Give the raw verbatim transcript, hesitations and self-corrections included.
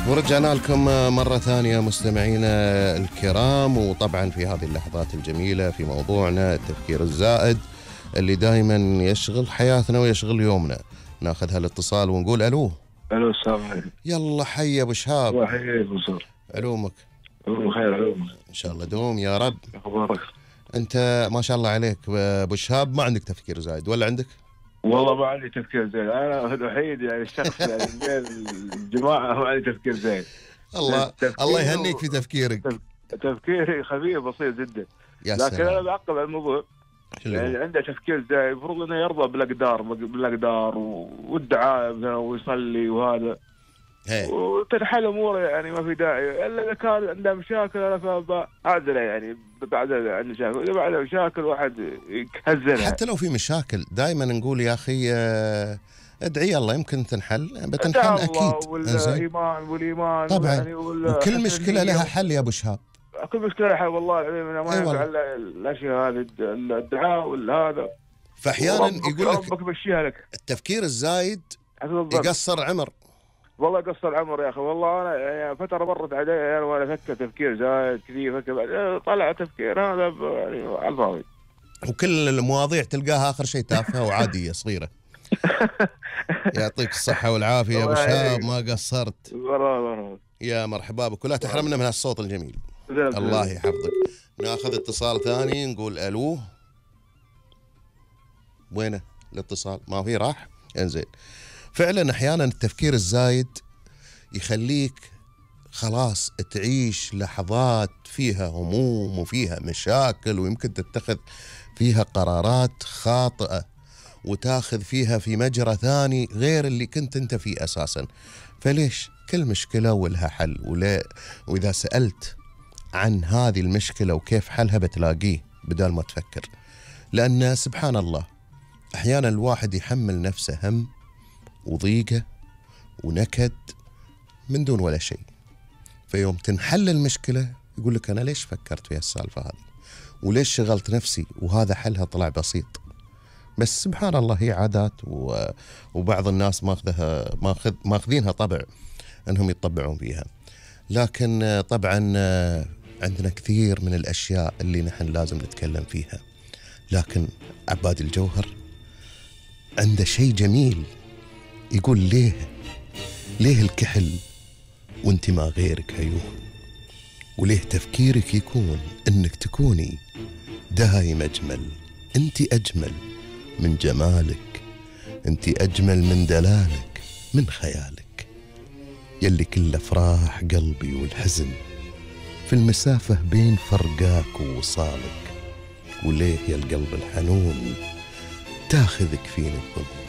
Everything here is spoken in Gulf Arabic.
ورجعنا لكم مرة ثانية مستمعينا الكرام، وطبعا في هذه اللحظات الجميلة في موضوعنا التفكير الزائد اللي دائما يشغل حياتنا ويشغل يومنا. ناخذ هالاتصال ونقول ألو. ألو السلام عليكم. يلا حي أبو شهاب. الله يحييك بصور. علومك. علوم خير علوم. إن شاء الله دوم يا رب. أخبارك؟ أنت ما شاء الله عليك أبو شهاب، ما عندك تفكير زايد ولا عندك؟ والله ما عندي تفكير زين، أنا الوحيد يعني الشخص يعني من الجماعة ما عندي تفكير زين. الله الله يهنيك في تفكيرك. تفكيري خفيف بسيط جدا. يا لكن سلام. أنا بعقب على الموضوع. يعني عنده تفكير زين، المفروض إنه يرضى بالأقدار بالأقدار والدعاء ويصلي وهذا. هي. وتنحل أموره، يعني ما في داعي إلا إذا كان عنده مشاكل. أنا فأعذره يعني بعد عنده مشاكل، إذا بعد مشاكل واحد يهزلها. حتى لو في مشاكل دائما نقول يا أخي ادعي الله يمكن تنحل، بتنحل أكيد. والإيمان والإيمان طبعا يعني وكل مشكلة لها حل يا أبو شهاب. كل مشكلة لها حل والله العظيم. أنا ما ينفع إلا الأشياء هذه الدعاء والهذا. فأحيانا يقول لك ربك بشيها لك. التفكير الزايد يقصر عمر. والله قصر عمر يا اخي. والله انا يعني فتره مرت علي يعني وانا افكر تفكير زايد كذي، فكر طلع تفكير هذا يعني على الفاضي. وكل المواضيع تلقاها اخر شيء تافهه وعاديه صغيره. يعطيك الصحه والعافيه يا ابو شهاب، ما قصرت. يا مرحبا بك، ولا تحرمنا من هالصوت الجميل. الله يحفظك. ناخذ اتصال ثاني نقول الو. وينه الاتصال؟ ما في راح. انزين. فعلا احيانا التفكير الزايد يخليك خلاص تعيش لحظات فيها هموم وفيها مشاكل، ويمكن تتخذ فيها قرارات خاطئة وتاخذ فيها في مجرى ثاني غير اللي كنت انت فيه اساسا. فليش؟ كل مشكلة ولها حل، ولا واذا سألت عن هذه المشكلة وكيف حلها بتلاقيه بدل ما تفكر. لأن سبحان الله احيانا الواحد يحمل نفسه هم وضيقة ونكد من دون ولا شيء، فيوم تنحل المشكلة يقول لك أنا ليش فكرت في السالفة هذه وليش شغلت نفسي، وهذا حلها طلع بسيط. بس سبحان الله هي عادات، وبعض الناس ماخذها ماخذ ماخذينها طبع أنهم يتطبعون فيها. لكن طبعا عندنا كثير من الأشياء اللي نحن لازم نتكلم فيها. لكن عباد الجوهر عنده شيء جميل يقول ليه ليه الكحل وانت ما غيرك عيون، وليه تفكيرك يكون انك تكوني دايم اجمل. انت اجمل من جمالك، انت اجمل من دلالك، من خيالك، يلي كل افراح قلبي والحزن في المسافة بين فرقاك ووصالك. وليه يا القلب الحنون تاخذك فيني الظن.